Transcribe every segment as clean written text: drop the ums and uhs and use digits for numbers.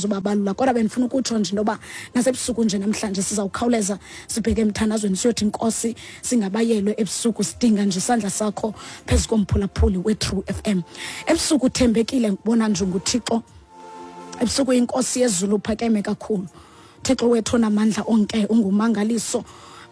andizubabalula, kodwa bendifuna ukutsho nje into yoba nasebusuku nje namhlanje sizawukhawuleza sibheke emthandazweni, siyothi Nkosi singabayelwe ebusuku, sidinga nje isandla sakho phezu komphulaphuli we-True FM. Ebusuku uthembekile, ngibona nje nguThixo. Ebusuku inkosi yezulu uphakeme kakhulu, Thixo wethu onamandla onke, ungumangaliso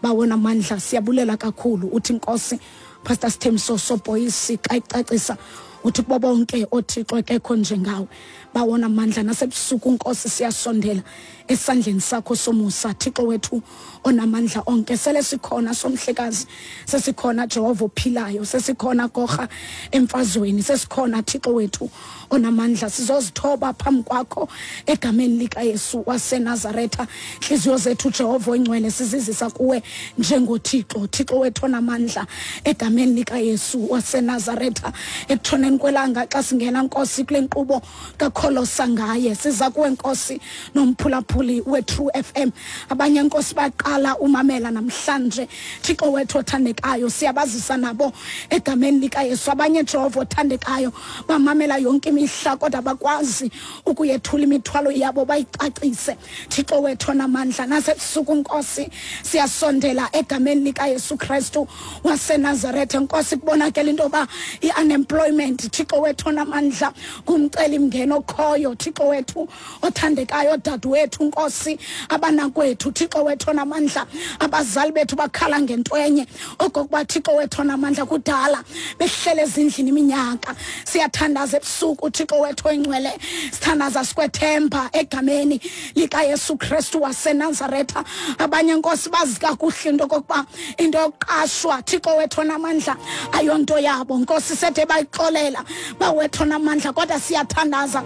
bawona mandla, siyabulela kakhulu. Uthi Nkosi Pastor Sithembiso Sobhoyisi xa icacisa uthi kubo bonke othixo akekho njengawe, bawona mandla. Nasebusuku Nkosi siyasondela esandleni sakho somusa, Thixo wethu onamandla onke. Sele sikhona somhlekazi, sesikhona Jehova ophilayo, sesikhona gorha emfazweni, sesikhona Thixo wethu onamandla. Sizozithoba phambi kwakho egameni likaYesu waseNazaretha. Intliziyo zethu Jehova oyingcwele sizizisa kuwe njengoThixo, Thixo wethu onamandla, egameni likaYesu waseNazaretha. Ekutshoneni kwelanga xa singena Nkosi kule nkqubo kakholosa ngaye, siza kuwe Nkosi nomphulaphuli we-True FM. Abanye Nkosi baqala umamela namhlanje, Thixo wethu othandekayo, siyabazisa nabo egameni likaYesu. Abanye Jehova othandekayo bamamela yonke imihla kodwa bakwazi ukuyethula imithwalo yabo bayicacise, Thixo wethu onamandla. Nasebusuku Nkosi siyasondela egameni likaYesu Kristu waseNazaretha. Nkosi kubonakele into yoba i-unemployment, Thixo wethu onamandla, ngumcelimngeni okhoyo, Thixo wethu othandekayo. Dadewethu Nkosi, abanakwethu, Thixo wethu onamandla, abazali bethu bakhala ngento enye, okokuba Thixo wethu onamandla kudala behlele ezindlini iminyaka. Siyathandaza ebusuku, Thixo wethu oyingcwele, sithandaza sikwethemba egameni likaYesu Kristu waseNazaretha. Abanye Nkosi bazi kakuhle into okokuba into yokuqashwa, Thixo wethu onamandla, ayonto yabo Nkosi, sethe bayixolela bawethu onamandla, kodwa siyathandaza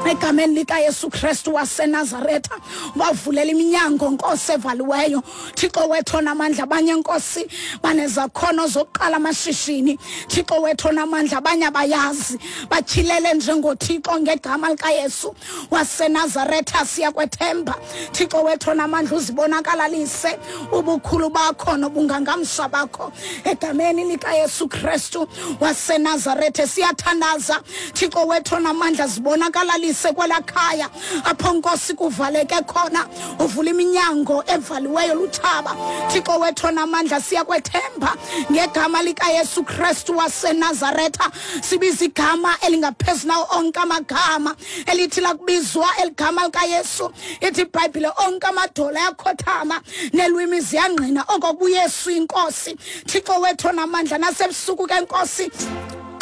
egameni likaYesu Kristu waseNazaretha, bavulela iminyango Nkosi evaliweyo, Thixo wethu onamandla. Abanye Nkosi banezakhono zokuqala amashishini, Thixo wethu onamandla, abanye abayazi, batyhilele njengoThixo ngegama likaYesu waseNazaretha. Siyakwethemba Thixo wethu onamandla, uzibonakalalise ubukhulu bakho nobungangamsha bakho egameni likaYesu Kristu waseNazaretha. Siyathandaza Thixo wethu onamandla, zibonakalalise kwelakhaya apho Nkosi kuvaleke khona, uvula iminyango evaliweyo lutshaba, Thixo wethu onamandla. Siyakwethemba ngegama likaYesu Kristu waseNazaretha. Sibiza igama elingaphezu nawo onke amagama, elithi lakubizwa eligama likaYesu, ithi iBhayibhile onke amadola ayakhothama nelwimi ziyangqina okokuba uYesu inkosi, Thixo wethu onamandla. Nasebusuku ke Nkosi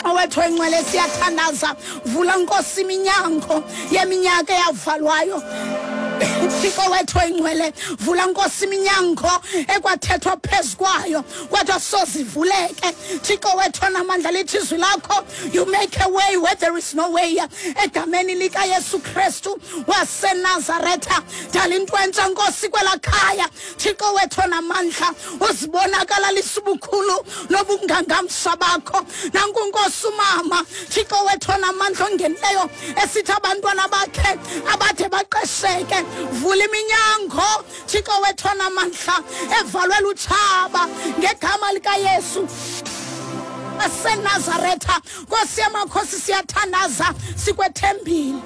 owethu oyingcwele siyathandaza, vula Nkosi iminyango yeminyaka eyavalwayo, Thixo wethu oyingcwele, vula Nkosi iminyango ekwathethwa phezu kwayo kodwa sozivuleke, Thixo wethu onamandla. Lithi izwi lakho, you make a way where there is no way, egameni likaYesu Kristu waseNazaretha. Dala into entsha Nkosi kwelakhaya, Thixo wethu onamandla, uzibonakalalisa ubukhulu nobungangamsha bakho. Nanku Nkosi umama, Thixo wethu onamandla, ongenileyo esithi abantwana bakhe abade baqesheke, vula iminyango, Thixo wethu onamandla, evalwe lutshaba ngegama likaYesu aseNazaretha. Nkosi yamakhosi, siyathandaza sikwethembile.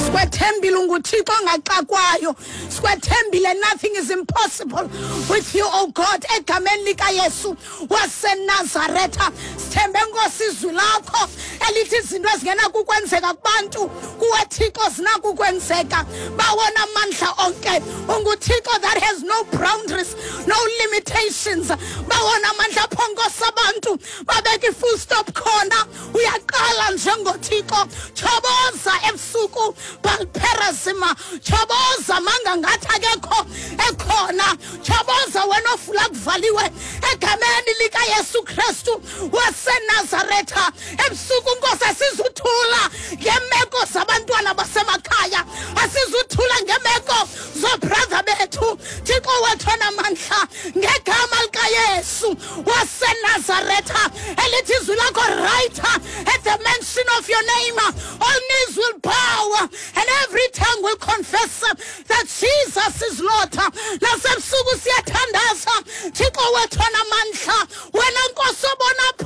Sikwethembile, unguThixo ongaxakwayo, sikwethembile. Nothing is impossible with you, oh God, egameni likaYesu waseNazaretha. Sithembe Nkosi izwi lakho elithi izinto ezingenakukwenzeka kubantu, kuwe Thixo zinakukwenzeka. Bawona amandla onke, unguThixo that has no boundaries, no limitations. Bawona amandla, apho Nkosi abantu babeka i-full stop khona, uyaqala njengoThixo. Choboza ebusuku Baalperazima, choboza manga ngathi akekho ekhona, choboza wena ofula kuvaliwe, egameni likaYesu Kristu waseNazaretha. Ebusuku Nkosi asizuthula ngeemeko zabantwana basemakhaya, asizuthula ngeemeko zoobrother bethu, Thixo wethu onamandla, ngegama likaYesu waseNazaretha, elithi izwi lakho, right at the mention of your name all knees will bow and every tongue will confess that Jesus is Lord. Nasebusuku siyathandaza, Thixo wethu onamandla, wena Nkosi obona